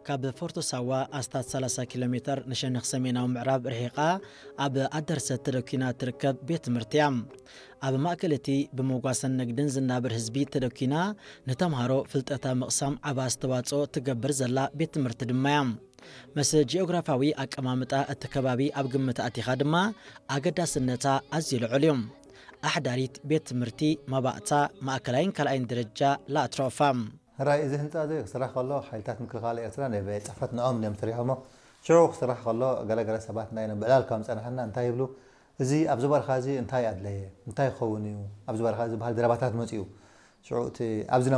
ካብ ፎርቶ ሳዋ ኣስታት ሰላሳ ኪሎ ሜተር ንሸነኽ ሰሜናዊ ምዕራብ ርሒቓ ኣብ ኣደርሰት ተደኪና ትርከብ ቤት ትምህርቲ እያ። ኣብ ማእከል እቲ ብመጓሰን ንግድን ዝናበር ህዝቢ ተደኪና ንተምሃሮ ፍልጠታ ምቕሳም ዓቢ ኣስተዋጽኦ ትገብር ዘላ ቤት ትምህርቲ ድማ እያ። ምስ ጂኦግራፋዊ ኣቀማምጣ እቲ ከባቢ ኣብ ግምት ኣቲኻ ድማ ኣገዳስነታ ኣዝዩ ልዑል እዩ። ኣሕዳሪት ቤት ትምህርቲ፣ መባእታ፣ ማእከላይን ካልኣይን ደረጃ ላትሮፋ። ሕራይ እዚ ህንፃ እዚ ክስራሕ ከሎ ሓይልታት ምክልኻል ኤርትራ ናይ ቤት ፅሕፈት ንኦም እዮም ሰሪሖሞ። ሽዑ ክስራሕ ከሎ ገለገለ ሰባት ናይ ብዕላል ከም ፀናሕና እንታይ ይብሉ፣ እዚ ኣብዚ በረኻ እዚ እንታይ ኣድለየ፣ እንታይ ክኸውን እዩ፣ ኣብዚ በረኻ እዚ ዝበሃል ዘረባታት መፅኡ። ሽዑ እቲ ኣብዚ